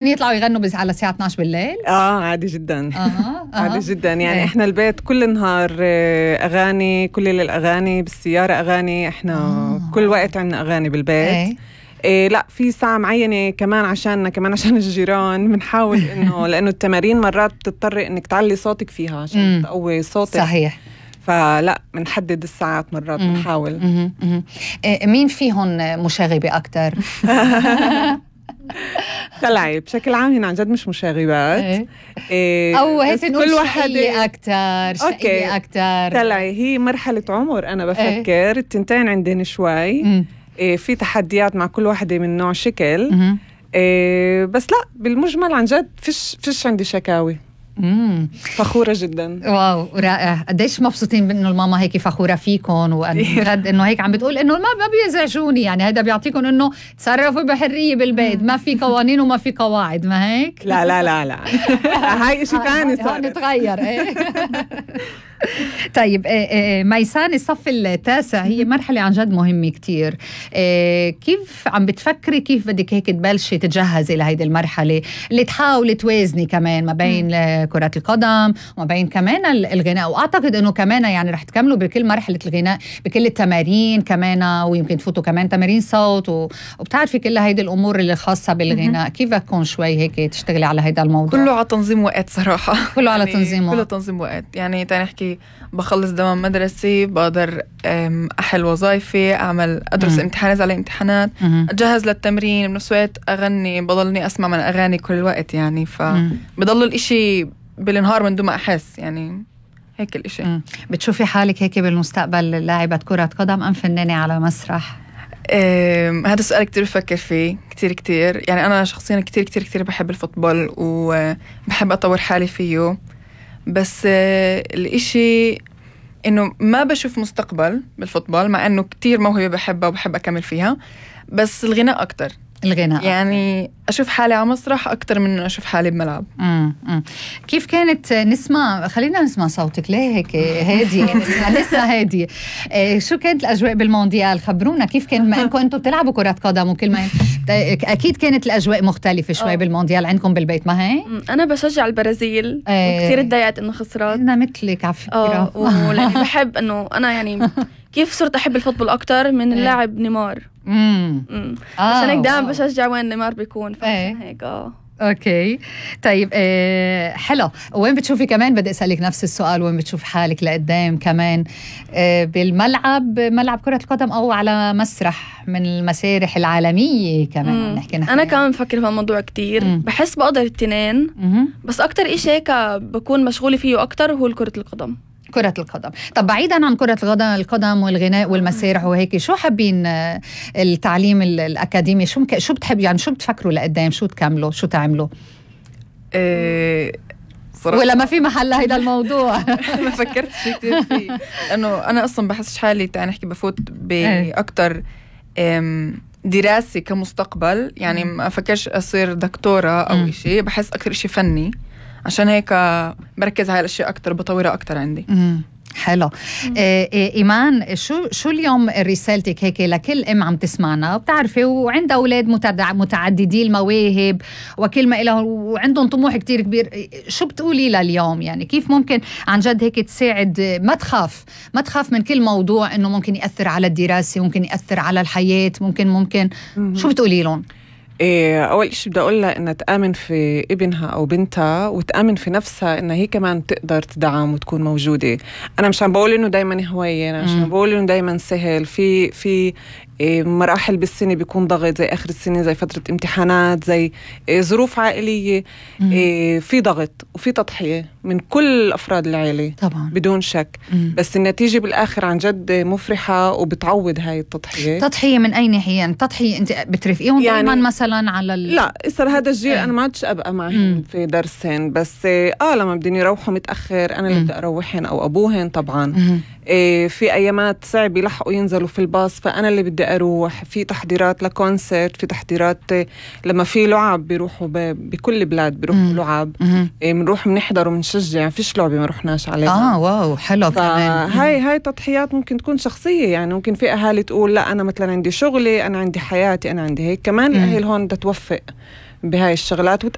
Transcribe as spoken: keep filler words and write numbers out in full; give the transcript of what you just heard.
يطلعوا يغنوا بس على الساعة اثناشر بالليل؟ اه عادي جدا. آه. آه. عادي جدا يعني إيه. احنا البيت كل النهار اغاني، كل الاغاني بالسيارة اغاني، احنا آه. كل وقت عندنا اغاني بالبيت. إيه. إيه لا في ساعة معينة كمان عشاننا، كمان عشان الجيران بنحاول انه لانه التمارين مرات بتضطري انك تعلي صوتك فيها عشان تقوي صوتك. صحيح. فلا بنحدد الساعات مرات بنحاول. مم. مم. إيه مين فيهم مشاغبة أكتر؟ تلعي بشكل عام هنا عن جد مش مشاغبات. إيه. إيه أو هيك نقول كل شقية أكتر، شقية أكتر. تلعي هي مرحلة عمر أنا بفكر. إيه. التنتين عندنا شوي. إيه في تحديات مع كل واحدة من نوع شكل. إيه بس لا بالمجمل عن جد فيش فيش عندي شكاوي. مم. فخورة جدا. واو رائع. قديش مبسوطين بأنه الماما هيك فخورة فيكم، وأن إنه هيك عم بتقول إنه ما ما بيزعجوني، يعني هذا بيعطيكم إنه تصرفوا بحرية بالبيت، ما في قوانين وما في قواعد، ما هيك؟ لا لا لا لا هاي إشي ثاني صار نتغير. إيه. طيب ميسان الصف التاسع هي مرحلة عن جد مهمة كتير. كيف عم بتفكري كيف بدك هيك تبلشي تجهزي لهيدي المرحلة اللي تحاولي توازني كمان ما بين كرة القدم وما بين كمان الغناء، وأعتقد أنه كمان يعني رح تكملوا بكل مرحلة الغناء بكل التمارين كمان، ويمكن تفوتوا كمان تمارين صوت وبتعرفي كل هيدي الأمور اللي خاصة بالغناء. كيف بتكون شوي هيك تشتغلي على هيدا الموضوع؟ كله على تنظيم وقت صراحة. كله على يعني تنظيم وقت. كله تنظيم وقت. يعني تعالي نحكي بخلص دوام مدرسي، بقدر أحل وظائفي، أعمل أدرس م. امتحانات على امتحانات، م. أجهز للتمرين، بنفس الوقت أغني، بضلني أسمع من أغاني كل الوقت يعني، فبضل الإشي بالنهار من دون ما أحس يعني هيك الإشي. م. بتشوفي حالك هيك بالمستقبل لاعبة كرة قدم أم فنانة على مسرح؟ هذا السؤال كتير بفكر فيه كتير كتير. يعني أنا شخصيا كتير كتير كتير بحب الفوتبول وبحب أطور حالي فيه، بس الإشي إنه ما بشوف مستقبل بالفوتبول، مع إنه كتير موهبة بحبها وبحب أكمل فيها، بس الغناء أكتر. الغناء يعني أشوف حالي على مسرح أكتر من إنه أشوف حالي بملعب. امم كيف كانت نسمع، خلينا نسمع صوتك ليه هيك هادي نسمع نسمع هادي. إيه شو كانت الأجواء بالمونديال؟ خبرونا كيف كان، ما إنكم أنتم بتلعبوا كرة قدم وكل ما أكيد كانت الأجواء مختلفة شوي. أوه. بالمونديال عندكم بالبيت ما هي؟ أنا بشجع البرازيل. ايه. وكثير اتضايقت إنه خسرت. أنا مثلك على فكرة. ولأني بحب إنه أنا يعني كيف صرت أحب الفوتبول أكتر من اللاعب نيمار. امم عشان هيك دائما بشجع وين نيمار بيكون. ايه. هيك اه اوكي طيب آه حلو. وين بتشوفي كمان، بدي اسالك نفس السؤال، وين بتشوف حالك لقدام كمان آه بالملعب، ملعب كرة القدم او على مسرح من المسارح العالمية كمان؟ نحكي نحن انا كمان بفكر في الموضوع كتير. مم. بحس بقدر التنين. مم. بس اكتر إشي هيك بكون مشغولة فيه اكتر هو كرة القدم. كرة القدم. طب بعيدا عن كرة القدم والغناء والمسارح وهيك، شو حابين التعليم الأكاديمي؟ شو مك... شو بتحبوا يعني، شو بتفكروا لقدام، شو تكملوا، شو تعملوا؟ إيه ولا ما في محل هيدا الموضوع؟ ما فكرت شيء كتير فيه، لأنه أنا أصلا بحس حالي تعال نحكي بفوت بأكتر دراسي كمستقبل. يعني ما أفكرش أصير دكتورة أو إشي، بحس أكتر إشي فني، عشان هيك بركز على الاشياء اكتر، بطورها اكتر عندي. امم حلو. إيه ايمان، شو شو اليوم رسالتك هيك لكل ام عم تسمعنا وبتعرفي وعندها اولاد متعددي المواهب وكل ما إله وعندهم طموح كتير كبير، شو بتقولي لها اليوم؟ يعني كيف ممكن عن جد هيك تساعد، ما تخاف ما تخاف من كل موضوع انه ممكن يأثر على الدراسة، ممكن يأثر على الحياة، ممكن ممكن شو بتقولي لهم؟ إيه أول شيء بدي أقول لها إنها تآمن في ابنها أو بنتها، وتآمن في نفسها إنها هي كمان تقدر تدعم وتكون موجودة. أنا مش عم بقول إنه دايما هواية، أنا مش عم بقول إنه دايما سهل. في في إيه مراحل بالسنة بيكون ضغط، زي آخر السنة، زي فترة امتحانات، زي إيه ظروف عائلية. إيه في ضغط وفي تضحية من كل أفراد العائلة طبعا بدون شك. مم. بس النتيجة بالآخر عن جد مفرحة وبتعوض هاي التضحية. تضحية من أي ناحية يعني؟ تضحية أنت بترفقيهم يعني دائما مثلا على ال... لا إصر هذا الجيل ايه. أنا ما عادش أبقى معهم في درسين، بس آه لما بدين يروحوا متأخر أنا اللي بدي أروحهم أو أبوهن طبعا. إيه في أيامات صعب يلحقوا ينزلوا في الباص، فأنا اللي بدي أروح. في تحضيرات لكونسرت، في تحضيرات لما في لعب بيروحوا بكل بلاد بيروحوا لعب، إيه منروح منحضر ومنشجع، فيش لعبة ما رحناش عليها. آه واو حلو كمان. هاي هاي تضحيات ممكن تكون شخصية، يعني ممكن في أهالي تقول لا أنا مثلا عندي شغلي، أنا عندي حياتي، أنا عندي هيك. كمان الأهل هون بدها توفق بهاي الشغلات